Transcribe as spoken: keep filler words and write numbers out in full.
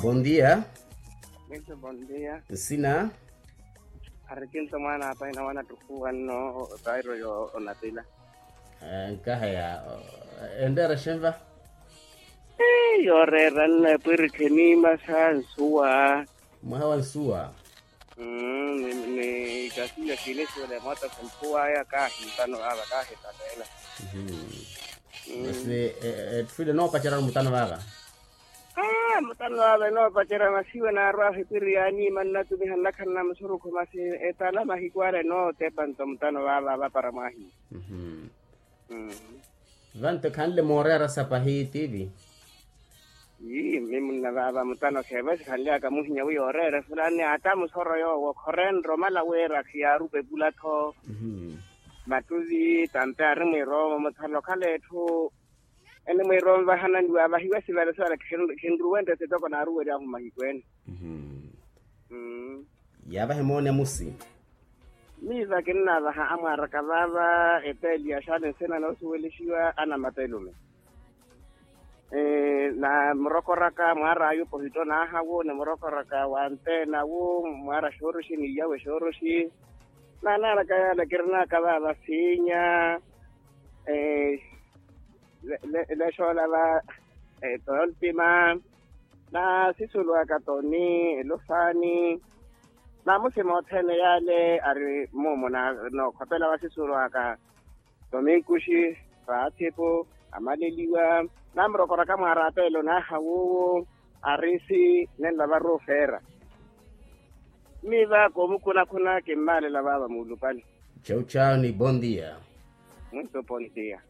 Bondia. Mwiso bondia. Nsina. Arikinto mwana apa ina wana tukuwa nno. Tairo yo onatila. Nkahaya. Enreera xenva? Yoreera nno epwirikhe niima sa nsuwa. Mwaha wa nsuwa. Ni kasiya kinixiwela emoto khempuwaya kaahintano vava kaahitapeela. Masi etthu ile noopacerya mutano vava. Mutano vava enoopacerya masiwe naarwa ahipiri yaaniima nnatumiha nnakhala na musurukhu masi etala mahiku ala enootepa nto mutano vava vapara mwahiya. Vanto ekhanle mooreera sapahi tivi. Ii mmi munna vaava mutano kheevo esikhanly'aka muhinya wi yooreera efulani ata musoro yoowo khoreenre omala wira khiyaarupa epula-tho. Mattuvi tampe ari mwiiroomo muthano okhala etthu enimwiiroomo vahananiwa vahiwa esivale sivala khinruwente sitoko naaruwery'ahu mahiku ene. Yaavaha emooni amusi. Miiva kinnaavaha amwaaraka vaava epeeli ya xaani nsina noosuwelixiwa anamapelume. Namurokoraka mwaar'aya opohitto naahawu nimurokoraka wa antenawu mwaara xooroxi ni iyawe xooroxi. Naanaanaka yaala kirinaka vaava siinya. Lexoola va tooltima naasisulu aka toni elofaani. Naamusima othene yaale ari muumo nookhopela vasisulu aka tominkuxi vaathipo amaleliwa. Naamurokoraka mwaarapelo naaha wuwo arisi nenla varuufeera. Mmiva koomukunakhuna kimmaalela vaava muulupale. Chau chau ni bondia. Muito bondia.